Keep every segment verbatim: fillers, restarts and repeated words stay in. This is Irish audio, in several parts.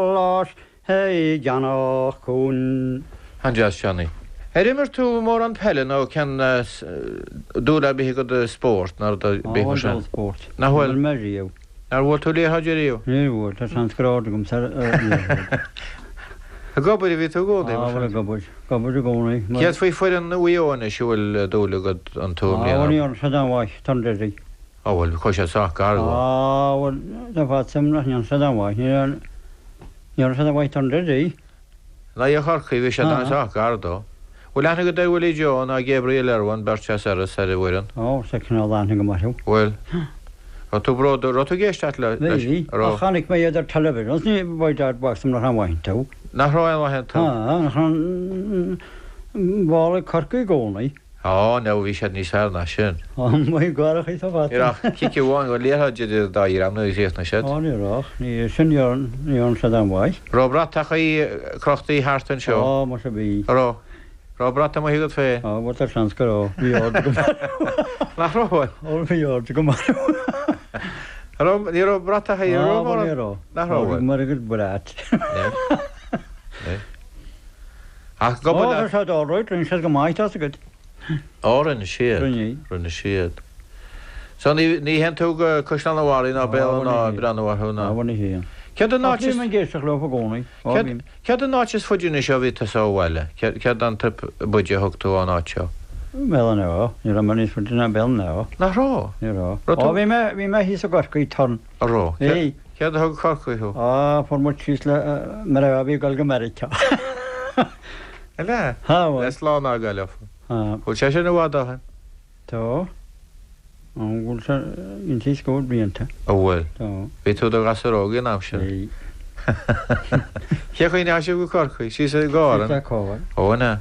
Spáis i gceannach cún. An-deas, Johnny. Ar imir tú mórán peile nó cén dúil ar bith agat i spórt nó rud ar bith mar sin? Á, spórt. Nach bhfuil? Níl mé riamh. Nár bhuail tú liathróid ariamh? Níor bhuail, tá seans go raibh aird agam ar liathróid. Ag obair a bhí tú i gcónaí, Á, mar bhuel, sin? ag obair. Ag obair i gcónaí. Mar... Céard faoi foireann Mhaigh Eo anois, an bhfuil dúil agat iontu i Á, bhuel, mbliana? ní dhearna siad aon mhaith, tar deiridh. Á, bhuel, chuaigh siad sách gar dó. Á, bhuel, tá fad suim nach ndéanann siad aon mhaith. Ní dhearna siad aon mhaith tar deiridh. In aghaidh Chorcaí, bhí siad Ah. an-sách gar dó. Bhfuil aithne agat ar Willie Joe ná Gabriel Irwin, beirt as Iorras ar an bhfoireann? Ó, tá cineál aithne agam orthu. Bhfuil? Raibh tú bródúil, raibh tú ag éisteacht le, leis? Bhí, Raibh? ach chonaic mé iad ar television, ní by dad box nach raibh maith iontu. Nach raibh aon mhaith iontu? Ah, nach raibh ball ag Corcaigh i gcónaí. Á, no, bhí siad níos fearr ná sin. Á, maith garach í tá Ní raibh ach cic amháin go liathróid idir an dá dhream nuair a chríochnaigh siad. Á, ní raibh, ní sin ní dhearna siad aon mhaith. Raibh bratachaí crochtaí thart anseo? Á, muise bhí. Raibh? Raibh brat amuigh agat féin? Á, bhuel, tá seans go raibh. Bhí aird agam. Nach raibh? Ó, bhí aird agam. Raibh, ní raibh bratachaí Á, raibh bhuel, ní raibh. Nach raibh? Mar a gcuid brat. Ach Ó, go tá siad all right, rinne siad go maith, tá agat. Á, rinne siad. Rinne. Rinne siad. So ní ní théann tú go Caisleán an Bharraigh ná Á, Béal bhuel, ná ní breathnú orthu ná. Á, bhuel, ní théann. Céard an Ach áit is bím ag éisteacht leo i gcónaí. Á, Céard bím. céard an áit is faide anois ó bhí tusa ó bhaile? Céard céard an trip b'fhaide a thug tú ón áit seo? Béal an Átha. Ní raibh mé níos faide ná Béal an Átha. Nach raibh? Ní raibh. Raibh Á, tú- bhí mé bhí mé thíos i gCorcaigh turn. A raibh? Bhí. Céard a thug Corcaigh thú? Á, fuair muid síos le mar a bhí ag dul go Meiriceá. Eile? Ha, bhuel. Le slán a fhágáil. Á, Bhfuil sé sin i bhfad ó shin? Tá. An bhfuil sé inti scór blianta. A bhfuil. Tá. Bhí tú i do ghasúr óg an am sin. Bhí. Cé chaoi a ndeachaigh sibh go Corcaigh? Síos i gcarr? Síos le carr. Ó, ina.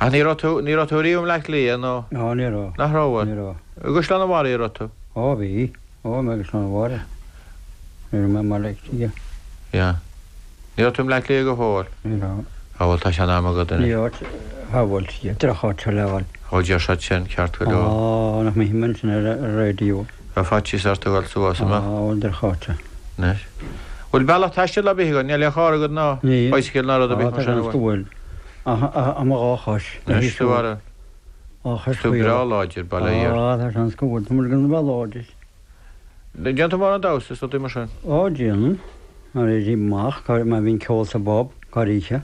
Ach ní raibh tú ní raibh tú riamh i mBleá Cliath nó Á, ní raibh. nach raibh? Ní raibh. I gCaisleán an Bharraigh a raibh tú? Ó, bhí. Ó, mé agus an Bharraigh. Ní raibh mé mar le Yeah. Ní raibh tú i mBleá Cliath go fóill? Ní raibh. Á bhuel tá sé in am agat Ní anois. áit shábháilte, drocháit le fháil. Ó deir siad sin ceart go leor. Á, nach mé himmen sin ar ar raidió. Tá faitíos ort a dhul suas Á, amach. bhuel droch-áit. Anois. Bhfuil bealach taistil ar bith agat? Níl aon charr agat ná Níl. bicycle ná rud ar Á, bith tá mar sin seans go bhfuil. Ach ach mo dhá chois. Anois tú ara. Á chois Tú breá láidir bail ó Dhia. Á, tá seans go bhfuil. Tá muid gan bheith láidir. Déanann tú mórán damhsa is rudaí mar sin? Á, déanaim. Mar éirím amach, má bhíonn ceol sa bpub, corroíche.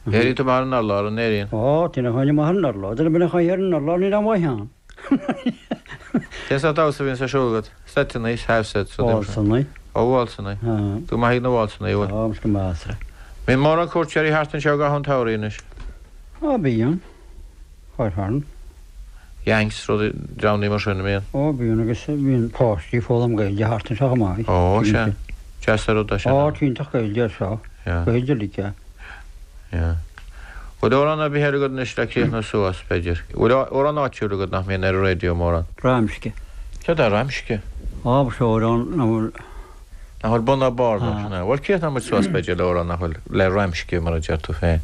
Éiríonn tú amach ar an urlár, an éiríonn? Á, téann chuile amach ar an urlár. Duine bíonn chuile ar an urlár, níl aon mhaith ann. Cén sórt damhsa a bhíonn ar siúl agat? Seiteanna, half sets, rudaí mar sin. Válsanna. Ó, válsanna. Á. Tú maith ag na válsanna, bhfuil? Á, go measartha. Bíonn mórán cuairteoirí thart anseo i gcaitheamh an tsamhraidh anois. Á, bíonn. Chuirfearn. Yanks, rudaí, dreamanna mar sin, a mbíonn? Ó, bíonn agus bíonn páistí foghlaim Gaeilge thart anseo chomh maith. Ó, sea. Deas an rud é sin. Á, iontach Gaeilge anseo. Yeah. Gaeilge uilig é. Yeah. Bhfuil amhrán ar bith eile agat anois le críochnú suas, b'fhéidir? Bhfuil amhrán áitiúil agat nach mbíonn ar an raidió mórán? Ramsce. Céard é Ramsce? Á, ba seo amhrán nach bhfuil... Nach bhfuil bun ná barr leis, an ea? Bhuel, críochnóidh muid suas, b'fhéidir, le amhrán nach bhfuil le Ramsce, mar a deir tú féin.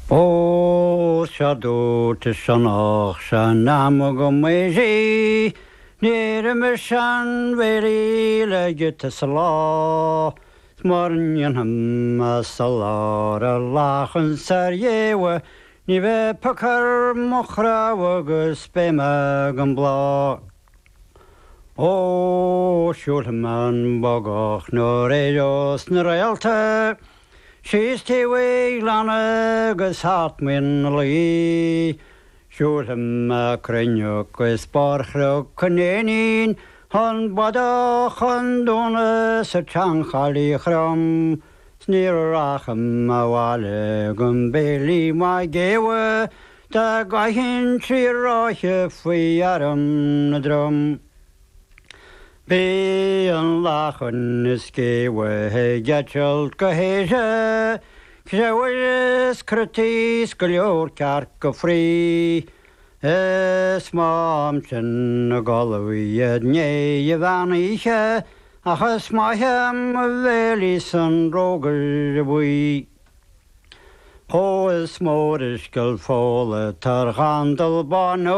Ó, sea dúirt is sionnach san am go mbeidh sí, Níor imir seanbhéirí le giota sa lá, 's mura ndéanfaidh mé soláthar ar lachan 's ar ghéabha, ní bheidh poc ar mo chnámha agus beidh mé gan bláth. Ó, siúlfaidh mé an bogach nuair éireos na réalta, síos taobh an ghleanna agus thart muin na Laoi. Siúlfaidh mé cruinneach is barr Chnoc an Éinín, an Bodach, an Dúna 's an tseanchaillí chrom, 's ní rachaidh mé abhaile gan béilí maith géabha, dá gcaithfinn trí ráithe faoi arm na dtrom. Bíonn lachan is géabha ag eitilt go haoise, creabhair is crotaí 's go leor cearca fraoigh, Is maith ansin a gcodladh i ndiaidh an mheán oíche, ach is maith mo bhéilí san rógaire buí. Ó is mór an scill fola tar ghandal bán